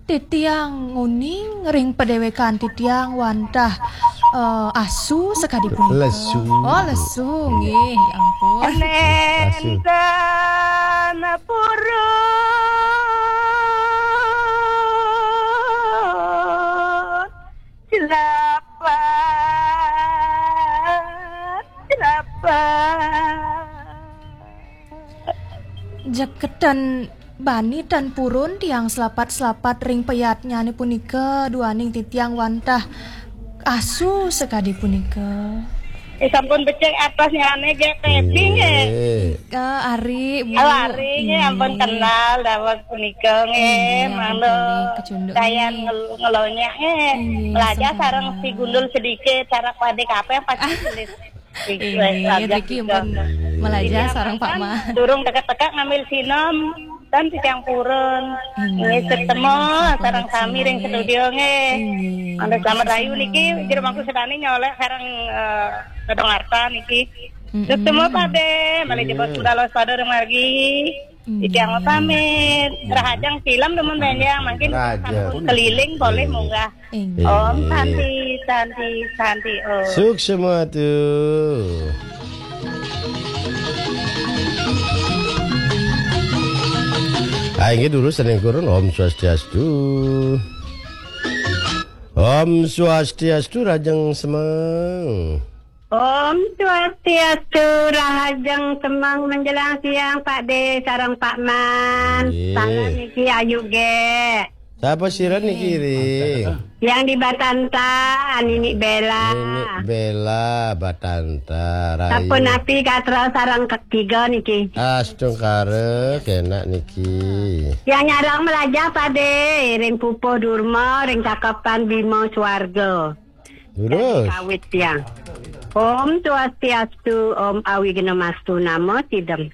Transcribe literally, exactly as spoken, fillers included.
Titiang nguning ring padéwékan titiang wantah, eh, asu sakadi punika. Lesu. Oh, lesu, nggih, ya ampun. Asu. Nénten purun selapat, selapat. Jeketen bani tan purun tiang selapat-selapat ring payatnyané punika, duaning titiang wantah asu sakadi punika. Eh, sampun becik atos nyané, nggih, tebing, nggih. Nggih. Eh, ari, Bu. Oh, ari, nggih, ampun. Nggih. Kenal dawet punika, nggih. Nggih, ampun, mangda nggih, kecunduk, dayan nggih. Ngel-, ngelonyah, nggih. Nggih, melajah sama-sama. Sareng si Gundul sedikit, sareng Pade Kapeng pasti tulis. Inggih, Riki pun melajah sareng Pak Ma. Durung teka-teka ngambil sinom, tan titiang purun. Inggih, ketemu sareng sami ring studio nggih. Inggih. Mangda selamat rahayu niki, jero mangku sedane nyolek sareng, eh, Dadong Arta niki. Mm-mm. Ketemu Pade, malih jebos budal waspada ring margi. Titiang pamit. Rahajeng film demen benjang, mungkin rahajeng. Sampun keliling boleh munggah. Inggih. Om Santi, Santi, Santi, Om. Suksma tu. Ah, inggih dulu sané kurun, Om Swastiastu. Om Swastiastu, rahajeng semeng. Om Swastiastu, rahajeng semeng menjelang siang, Pak De, sareng Pak Man. Nggih. Salam niki Ayu Gé. Sapa sira niki, Ri? Yang di Batanta, Nini Bella. Nini Bella, Batanta, Rai. Sapunapi gatra sareng ketiga niki. Astungkara, kenak niki. Yang nyarang melajah, Pak De, ring Pupuh Durma, ring Cakepan Bima Swarga. Terus? Kawit tiang. Om Swastiastu, Om Awighnamastu Namo Sidam.